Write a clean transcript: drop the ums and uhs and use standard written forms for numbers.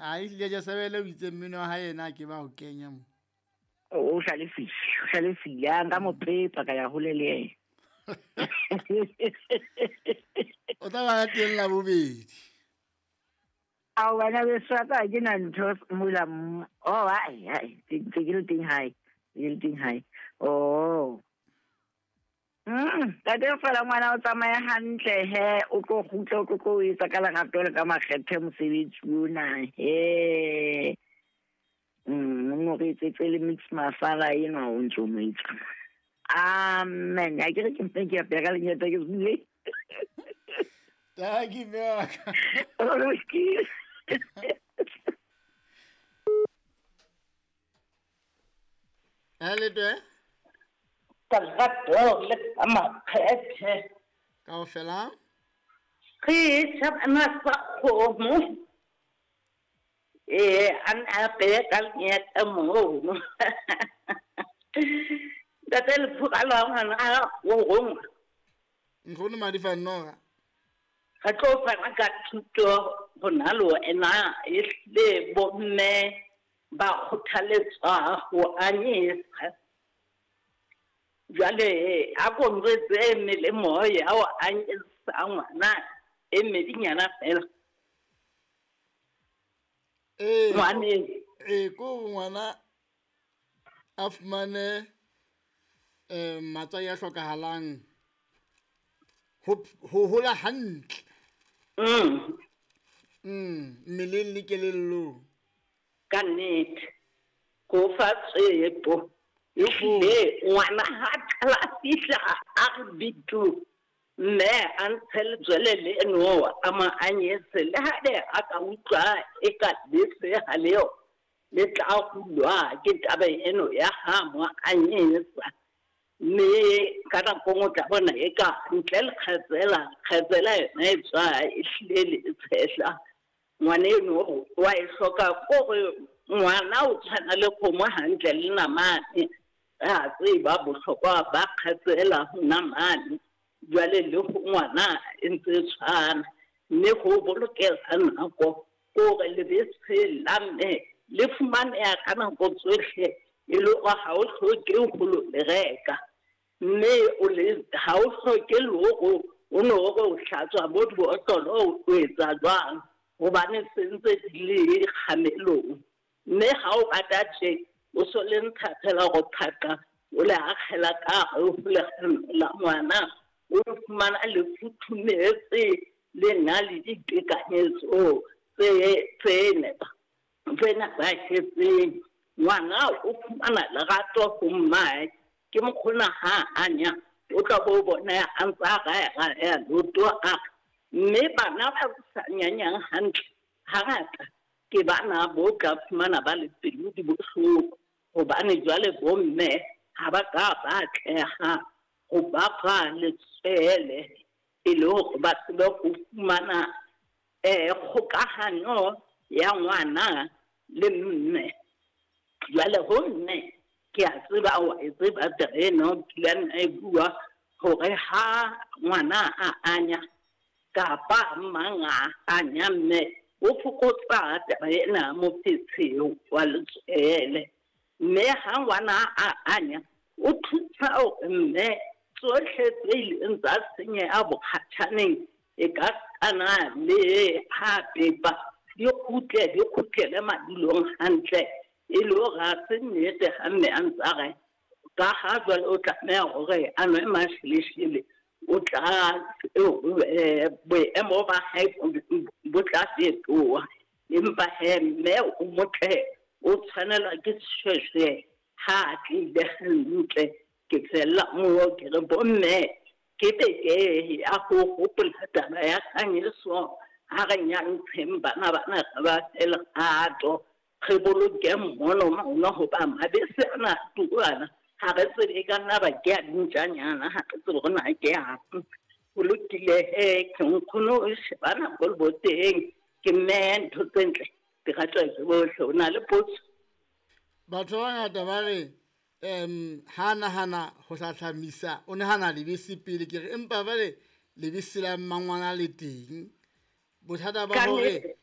A ehlile Jesebele o itse mmino wa hae yena a ke ba o kenya mo. O hlalefile, o hlalefile. A nka mo pepa ka ya hole le yena. O tla ba teng la bobedi. A wena beso wa ka ke na ntho mola oh ai ai ke ke le teng hae ke le teng hae oh Tate fela ngwana o tsamaye hantle he o tlo kgutla o tlo tlo o etsa ka lerato le ka makgethe mosebetsi ona he o re etsetse le mix masala enwa o ntse o mo etsa amen a ke re ke mpe ke apea ka lenyata ke sule Taki mme wa ka. Letwe. Ka lerato le ka makgethe. Kaofela. Re tšhabana sa kgomo. Ee, a ne a apeye ka lenyata mono. Ntate Lephoka la ngwana a o rongwa. Nkgono Madifa Noga. Re tlo fana ka thuto rona le wena ehlile bomme ba kgothaletswa ho anyesa. Jwale a ko njwetse melemo ya ho anyesa ngwana e mmedinyana fela. Ee, Ngwaneng. Ee, ko ngwana a fumane matswai a hlokahalang ho hola hantle. Mmeleng le kelellong. Ka nnete. Ko fa tshepo. Ehlile ngwana ha qala a fihla a re bitu mme a ntshe letswele leno a mo anyese le ha ne a ka utlwa e ka bese ha leo le tla hulwa ke taba eno ya ha mo anyesa. Mme ka nako nngwe o tla bona e ka ntle le kgatsela, kgatsela yona e tswa e hlile le tshehla. Ngwana eno wa e hloka kore ngwana o tshwana le kgomo hantle le namane. Re a tseba bohlokwa ba kgatsela ho namane. Jwale le ho ngwana e ntse e tshwana. Mme ho bolokela nako kore lebese la mme le fumaneha ka nako tsohle e le hore ha o hloke ho lo le reka. Mme o le ha o hloke le hore o no hore o hlatswa bo dibotlolo o etsa jwang hobane se ntse di le kgamelong. Mme ha o rata tje o so le ntsha fela hore phaqa o le akgela ka hare ho lekgano la ngwana o fumana le futhumetse le na le ditekanyetso tse nepahetseng. Ngwana o fumana lerato ho mmae ke mokgona ha anya o tla bo bona a ntse a raya loto a mme bana ba sa nyanyang hantle hangata ke bana bo tla fumana ba le pelo di bohloko hobane jwale bomme ha ba ka ba atleha ho ba fa letswele e le hore ba tsebe ho fumana kgokahanyo ya ngwana le mme. Jwale ho mme ke a tseba wa e tseba taba ena o kile a nna e bua hore ha ngwana a anya kapa mang a anya mme o fokotsa taba ena mofetshe wa letswele. Mme ha ngwana a anya o thusa hore mme tsohle tse ileng tsa senyeha bokgatjhaneng e ka kana le ha pepa di kgutlele madulong hantle e le hore ha se nnete ha mme a ntse a re ka ha jwale o tlameha hore a nwe masheleshele o tla boemo ba hae bo tla fetoha. Empa he mme o motle o tshwanelwa ke seshweshwe ha a tlile hantle. Ke fella moo ke re bomme ke beke ya ho hopola taba ya kganyeso ha re nyantsheng bana bana re ba fe lerato re boloke mmono mona hoba mabese ana a turana ha re tsebe e ka nna ba ke a dintjanyana ha re tsebe hore na ke eng. Ho lokile he ke nkgono o shebana ko leboteng ke mme ntho tse ntle di ratwa ke bohle. O na le potso? Batho ba bangata ba re ha nahana ho hlahlamisa o nahana lebese pele ke re empa jwale lebese la mmangwana le teng. Bothata ba hore